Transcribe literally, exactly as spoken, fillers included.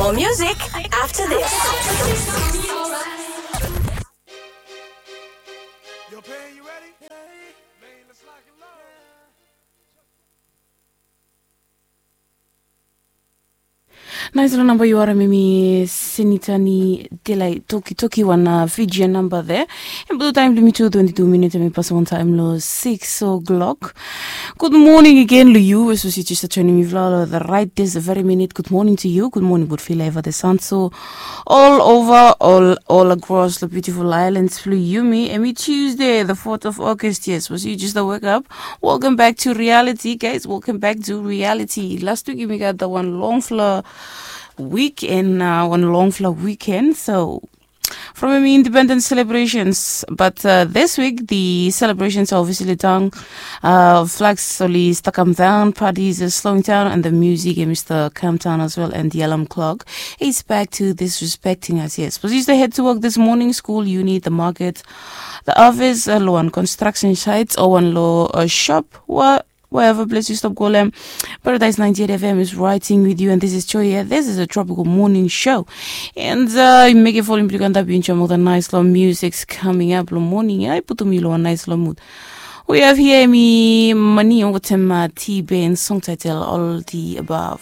More music after this. Naisela namba yu harim em i Senitani Delai Tokitoki wan Fijian namba there. Em bulu taim blong mi tu twenti tu minit em i pas wantaim long six o'clock. Gud moning agen long yu we sapos yu jes joinim mifala long the right this very minute. Gud moning to yu. Gud moning butfila eva the sun so all over all all across the beautiful islands blong yumi. Em i Tuesday the fourth of August. Yes, sapos yu jes wake up. Welcome back to reality, guys. Welcome back to reality. Last week yumi gat the wan longfala weekend, uh, wan longfala weekend. So from em independence celebrations, but uh, this week the celebrations are obviously down. Uh, flags slowly stuck come down, parties are slowing down, and the music and Mr. Come down as well, and the alarm clock is back to disrespecting us. Yes, but you used to head to work this morning, school, uni, the market, the office, uh, lo one construction site, or one lo a shop, what wherever place you stop golem. Paradise ninety-eight F M is writing with you, and this is Joy here. This is a tropical morning show. And uh, make it falling blue and up in the nice long music's coming up lo morning. I put me lo a nice long mood. We have here me money over time uh, T-Bane song title All the Above.